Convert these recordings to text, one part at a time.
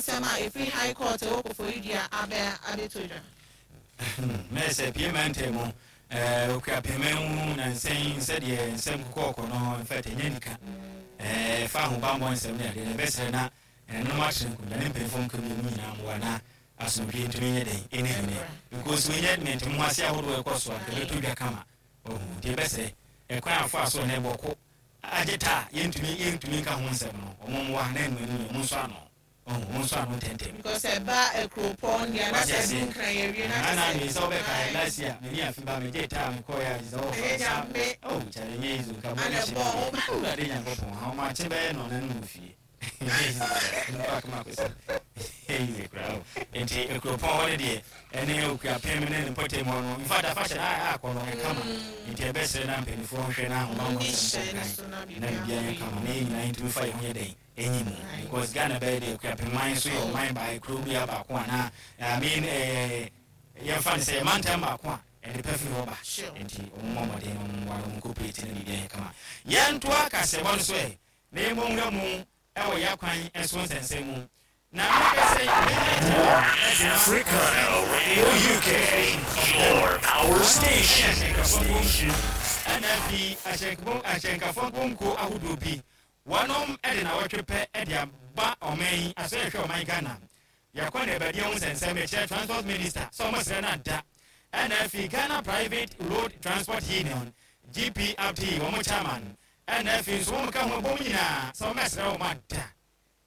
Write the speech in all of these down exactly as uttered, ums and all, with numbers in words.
Nsɛm a ɛfiri High Court ɛwɔ Koforidua abɛ abɛtɔ dwa. Mɛ sɛ pie mɛntɛ mu ɛɛ Okuapɛmɛ mu na nsɛn sɛdeɛ nsɛm kɔkɔɔkɔ no, in fact, ɛnyɛ nika ɛɛ fa ahobammɔ nsɛm ne adeɛ na ɛbɛsrɛ na ɛnom akyerɛ nkonnwa ne mpanyinfoɔ nka mmienu nyinaa mmoa na asomdwe ntumi nyɛ den ɛne hene, because wɔnyɛ mente mu ase ahodoɔ ɛkɔ so a ɛbɛtɔ dwa kama. Ɔhu nti ɛbɛsrɛ ɛkwan afo a so ne bɔko agye ta yɛntumi yɛntumi nka ho nsɛm no, ɔmo mmoa na ɛnu anim ɔmo nso ano, ɔhu ɔmo nso ano ntɛntɛm. Because ɛba akuropɔn deɛ na sɛ du Nkran yɛwie na na na sɛ wobɛka last year mene afi ba megye taa mekɔɛ a sɛ wɔfa sa. Oh kyale, nyɛ easy nka bɔ ne hyɛ Awurade Nyankopɔn ahomakye bɛyɛ no ɔna no wɔ fie nipa kama kɔsi easy koraa o. Nti akuropɔn hɔ no deɛ, ɛne Okuapem ne ne mpɔtam hɔ no, in fact, afahyɛ no akɔ no ɛkama, nti ɛbɛsrɛ na mpanimfoɔ nhwɛ na ahobammɔ nsɛm kɔ kan na biribiara yɛ kama na yɛn nyinaa yɛntumi fa yɛn ho yɛ dɛn ɛnyi mu, because Ghana bɛyɛ deɛ, Okuapem man nso yɛ ɔman baa kuro bi baako a na, I mean, ɛɛ yɛmfa no sɛ yɛmantam baako a ɛde pɛ firi hɔ ba. Nti ɔmo mmɔ mmɔden na ɔmo mmoa na ɔmo cooperate na biribiara yɛ kama. Yɛntoa kasɛbɔ no so ɛ na yɛmmɔ nwura mu ɛwɔ yɛ akwan ɛso nsɛnsɛm mu na meka sɛ Africana Radio U K, your power station. Ɛna afei ahyɛnkafoɔ nkonko ahodoɔ bi wɔnom ɛde na wɔtwe pɛ ɛde aba ɔman yi asɔ yɛhwɛ ɔman Ghana yɛkɔ na ɛbɛdeɛ ho nsɛnsɛm ɛkyerɛ Transport Minister sɛ ɔmo srɛ no ada. Ɛna afei Ghana Private Road Transport Union, G P R T U, wɔn chairman, ɛna afei nso wɔn ka ho bɔm nyinaa sɛ wɔn ɛsrɛ wɔn ada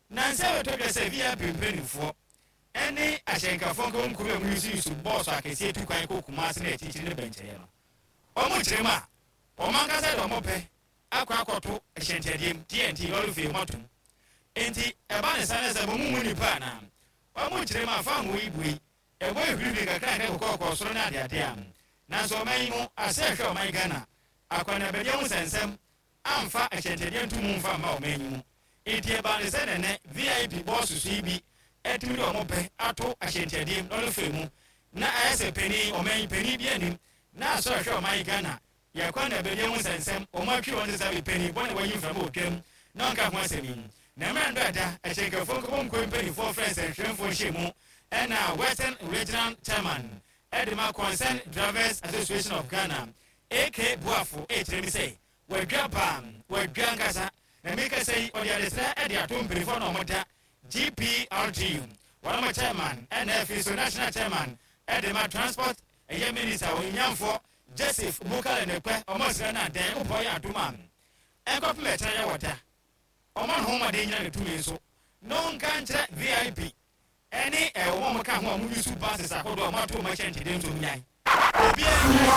na nsɛm ɛtɔ dwa sɛ V I P mpanimfoɔ ɛne ahyɛnkafoɔ nka wɔn kurom a wɔn yusu yusu bɔɔso akɛseɛ tu kwan kɔ Kumase na akyirikyiri ne bɛnkyɛeɛ no, wɔn kyerɛ mu a wɔn ankasa de wɔn pɛ akɔ akɔto hyɛnkyɛdeɛ mu T N T lɔri fee wɔn atum. Nti ɛba ne sa ne sɛ wɔn mu nipa anaa wɔn kyerɛ mu a fa ho yi bue ɛbɔ ehurihuri kakra nkɛ kɔkɔɔkɔ soro ne adeade a, nanso ɔman yi mu asɛ ɛhwɛ ɔman Ghana akɔnabɛdeɛ ho nsɛnsɛm amfa ahyɛnkyɛdeɛ nto mu mfa mma ɔman yi mu. Nti ɛba ne sɛ nɛnɛ V I P bɔɔso so yi bi ɛtumi de ɔmo pɛ ato ahyɛnkyɛdeɛ mu lɔri fee mu na ayɛ sɛ panin ɔman yi panin bi anim na asɔ ɛhwɛ ɔman yi Ghana yɛkɔ na ɛbɛdeɛ ho nsɛnsɛm ɔmo atwi wɔn sɛ panin bɔne wɔyi mframa otwam na ɔnka ho asɛm yi. Na mmerɛ ndo ɛda ahyɛnkafoɔ nkɔbɔ nkɔ mpanimfoɔ frɛ nsɛnhwɛmfoɔ nhyɛ mu, ɛna Western Regional Chairman ɛde ma Concerned Drivers Association of Ghana, A K Boafo, ɛkyerɛ mi sɛ wadwa paa, wadwa nkasa na meka sɛ yi ɔde adesrɛ ɛde ato mpanimfoɔ na ɔmo da G P R T U wɔn chairman, ɛna afei so national chairman ɛde ma Transport ɛyɛ Minister onyamfoɔ Joseph Bukale Nekpɛ, ɔmo srɛ no adan wopɔ yɛ adom a ɛnkɔpem ɛkyerɛ yɛ wɔ da ɔmo ne ho mmɔden nyina ne tumi nso na ɔnka nkyerɛ V I P ɛne ɛwɔ ɔmo ka ho a ɔmo yusu buses ahodoɔ a ɔmo ato ɔmo ahyɛ ntɛdeɛ nso nyan obiara nyan.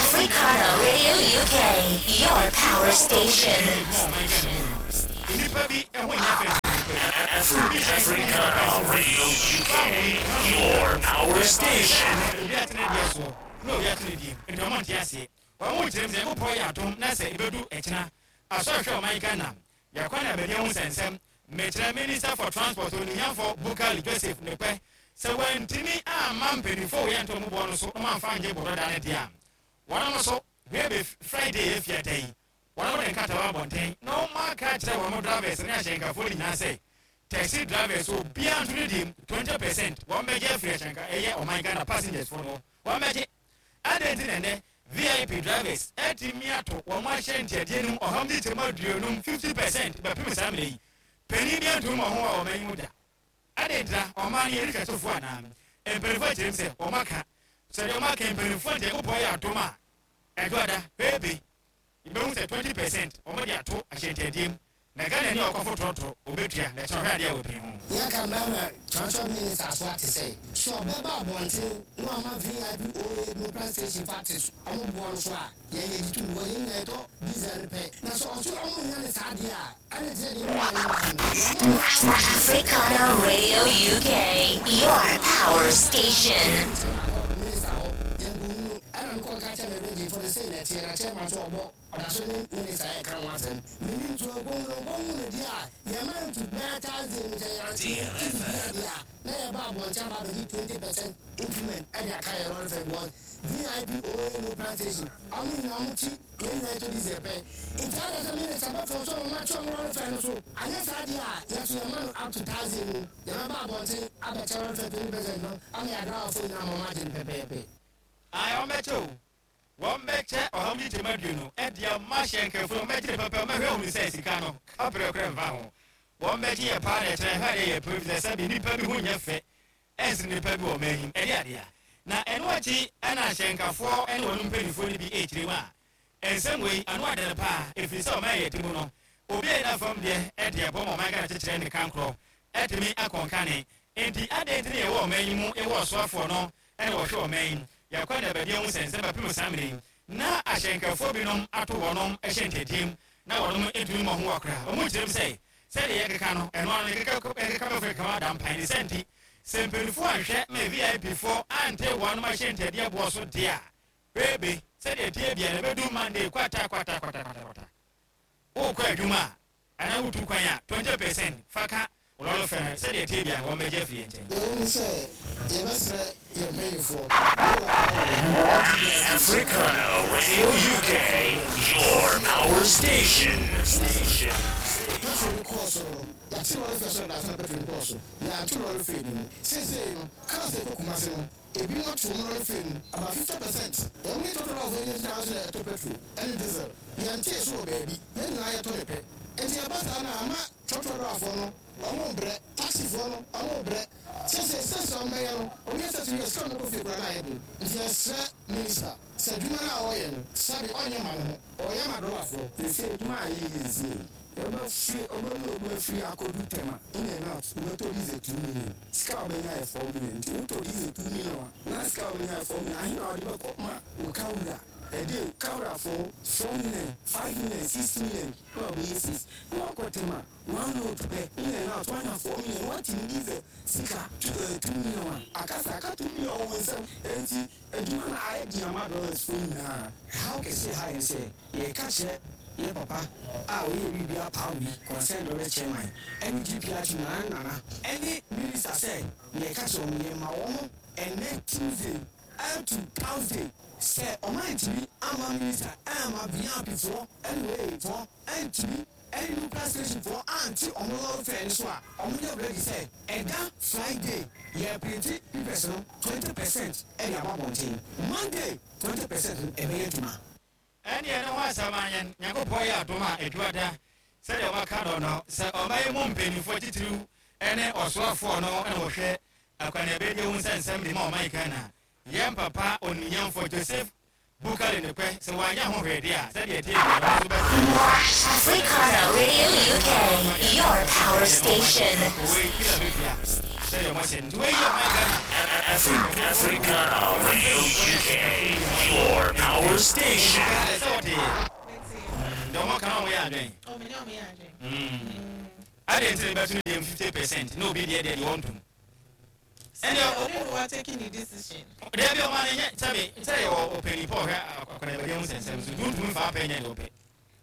Africana Radio U K, your power station. Nnipa bi ɛho nyɛ fɛ. Africana Radio U K, your power station. Obi atene deɛ soɔ na obi atene deɛ mu, nti ɔmo nte aseɛ. Wɔn mo kyerɛ mu sɛ wopɔ yɛ adom na sɛ ebedu ɛkyina asɔ ɛhwɛ ɔman Ghana yɛkɔ na abɛdeɛ ho nsɛnsɛm mɛkyerɛ Minister for Transport oniyamfo Bukali Joseph Nepɛ sɛ wɔntumi amma mpanimfoɔ wɔ yɛn ntɔn mu boɔ no so na wɔamfa ngye bɔdɔda no deɛ a, wɔn nso hwɛ Friday efia da yi wɔn de nkatawa abɔnten na wɔn aka kyerɛ wɔn drivers ne ahyɛnkafoɔ no nyinaa sɛ taxi drivers obiara nto ne deɛ twenty percent wɔn bɛgye afiri ahyɛnka ɛyɛ ɔman Ghana passengers fo no wɔn bɛgye adan. Ti nɛnɛ V I P drivers ɛtumi ato wɔn ahyɛ ntiadeɛ no mu ɔham de kyɛm aduonum fifty percent bɛpem saa mmerɛ yi. Panin bi antum wɔn ho a wɔn ayi mu da adan tira ɔman no yɛde hwɛsofoɔ anaa mpanimfoɔ akyerɛ mu sɛ wɔn aka sɛdeɛ wɔn aka mpanimfoɔ ntiɛ wopɔ yɛ adom a ɛdɔda pepe ìbɛhu sɛ twenty percent wɔn de ato ahyɛntiadeɛ mu na Ghana ni ɔkɔfo trɔtrɔ obetua na ɛkyɛn ɔhwɛ adeɛ a wɔpin ho. Yɛka mmarima Transport Minister so ate sɛ sɛ ɔbɛba abɔnten na wama V I P oa no station factories ɔmo boɔ no so a yɛyɛ de tum wɔ yɛn nyinaa yɛtɔ diesel no pɛ, na sɛ ɔso ɔmo nya ne saa deɛ a ɛne te sɛ deɛ ɔmo nya no. Africana Radio U K, your power station. Minister hɔ yɛn nkɔhunu ɛna nkɔ ka kyerɛ me region fo no sɛ na ɛteɛ na chairman so ɔbɔ. Ɔda so ne minister yɛ ka ho asɛm. Mimi nso ɔgbɔn no ɔgbɔn mu no deɛ a yɛma ntu bɛyɛ Thursday no sɛ yɛante bia deɛ a na yɛba abɔnten aba abɛgye twenty percent increment ɛde aka yɛ lorry fare because V I P O A no plantation ɔmo nyinaa ɔmo ti yɛn nyinaa yɛtɔ diesel pɛ. Nti ada sɛ minister bɛfɔ so ɔmo atwe ɔmo lorry fare no so anyɛ saa deɛ a yɛso yɛma no up to Thursday no, yɛbɛba abɔnten abɛkyɛ lorry fare twenty percent no ama yɛ adrawafoɔ nyinaa ma ɔmo agye no pɛpɛɛpɛ. Ayi, wɔn bɛkyɛ o, wɔn bɛkyɛ ɔha mu nkyɛn aduonu ɛde ama hyɛnkɛfo no. Wɔn bɛkyɛ pɛpɛ, wɔn bɛhwɛ ohun sɛ sika no kaprɛ nfa ho. Wɔn bɛgye yɛ paa na ɛkyerɛ hwɛ deɛ yɛ pɛ sɛ sɛbi nipa bi ho nyɛ fɛ ɛnsi nipa bi wɔ ɔman yi ɛde adeɛ. Na ɛno akyi ɛna ahyɛnkafoɔ ɛne wɔn mpanimfoɔ no bi ɛkyerɛ mu a nsɛm wei ano adene paa, ɛfiri sɛ ɔman yɛ ti mu no, obi a yɛda fam deɛ ɛde ɛbɔ ma ɔman Ghana kyekyerɛ ne kankorɔ ɛtumi akɔnkane. Nti adeɛ nti ne yɛwɔ ɔman yi mu, ɛwɔ ɔsoafoɔ no ɛne wɔhwɛ ɔman yi yɛkɔ ne baabi ho sɛ nsɛm bɛpem saa mmere yi na ahyɛnkafoɔ binom ato wɔnom hyɛ ntɛdiem na wɔnom ntumi mmɔ ho wɔ koraa. Ɔmo kyerɛm sɛ sɛdeɛ yɛkeka no ɛno ano yɛkeka yɛkeka bɛfo kama da mpan ne sɛ nti sɛ mpanimfoɔ anhwɛ ma V I P foɔ ante wɔnom ahyɛ ntɛdeɛ boɔ so deɛ a bebe sɛdeɛ tie bia na ɛbɛdu Monday kwata kwata kwata kwata kwata wokɔ adwuma a anaa wotu kwan a twenty percent fa ka lorry fare no, sɛdeɛ tie bia wɔn bɛgye afiri yɛn nkyɛn. Yɛwɔ mu sɛ yɛbɛsrɛ yɛn mpanyinfoɔ. Africana Radio U K, your power station. Station. Petrol no kɔɔ soro no, yɛate lorry fare so dada. Na petrol no kɔɔ so, yɛanto lorry fare no mu. Seesei no cars a ɛkɔ Kumase no, ebi mo ato mu lorry fare no about fifty percent. Ɛmu ne total of ɛnyɛ thousand a ɛtɔ petrol ɛne diesel, yɛntee so wɔ baabi. Yɛn nyinaa yɛtɔ ne pɛ, nti ɛba saa na ama trɔtrɔ driverfoɔ no ɔmo brɛ, taxifoɔ no ɔmo brɛ. Sese sese ɔmo bɛyɛ no, obi ɛsɛ sɛ yɛ sika ɔmo kɔ fie kura na ayɛ den. Nti yɛsrɛ minister sɛ adwuma no a ɔyɛ no, sɛbi, ɔnyɛ ma ne ho, ɔyɛ ma driverfoɔ. Sese adwuma a yɛyɛ nsie ɔbɛfiri ɔbɛmu ɔbɛfiri akɔdu Tɛma in and out, wobɛtɔ diesel two million, sika a wobɛnya yɛ four million. Nti wotɔ diesel two million a na sika a wobɛnya yɛ four million, ahe na wɔde bɛkɔ ma wo kawura ɛde kawurafoɔ? Four million, five million, six million na ɔbɛyɛ six na wakɔ Tɛma one load pɛ in and out, wanya four million. Watumi diesel sika two uh, two million a akasa aka two million wɔ nsɛm. Nti adwuma no ayɛ di ama drivers fo nyinaa. Haw kɛseɛ ha yɛn sɛ yɛka kyerɛ yɛ papa a ɔyɛ biribi apam bi concern drivers chairman ɛne G P R T nana nana ɛne minister sɛ yɛka kyerɛ wɔn, yɛma wɔn ɛnɛ Tuesday ɛto Thursday sɛ ɔman ntumi ama minister ɛma V I P foɔ ɛne wei foɔ ɛntumi ɛne nuclear station foɔ ante ɔmo lorry fare no so a, ɔmo nyɛ ready sɛ ɛda Friday yɛ print papers no twenty percent ɛde aba abɔnten, Monday twenty percent no ɛbɛyɛ adwuma. Ɛne ɛne ho asɛm anyɛ Nyankopɔn yɛ adom a adwuada sɛdeɛ wɔaka no no sɛ ɔman mu mpanimfoɔ titiriw ɛne ɔsoafoɔ no ɛna wɔhwɛ akwanabɛdi ho sɛ nsɛm de ma ɔman Ghana, yɛn papa oniyamfoɔ Joseph Bukari ne pɛ sɛ wɔanyɛ ho hwɛdeɛ a sɛdeɛ tie bia no nso bɛsɛ. Africana Radio U K, your power station. Wei Philadelphia sɛdeɛ ɔmɔhyɛ nti wei yɛ ɔman Ghana. Afri- Africana Radio U K, your power station. Sɛ wɔte deɛ ɔmɔ ka na ɔmo yɛ adwene. Ɔmo ne ɔmo yɛ adwene. Ade nti ne bɛto no deɛ fifty percent na obi deɛ deɛ deɛ ɔntom. Ɛnna ɔno na wa taking the decision. Deɛ bi ɔma no nyɛ sɛbi sɛ yɛ wɔ ɔpanyin pɔ ɔhwɛ akwanabɛdeɛ ho nsɛnsɛm so tuntum fa apɛ nyɛ deɛ ɔpɛ.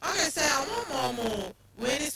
Ɔkè sɛ ɔmo ma ɔmo wei ni.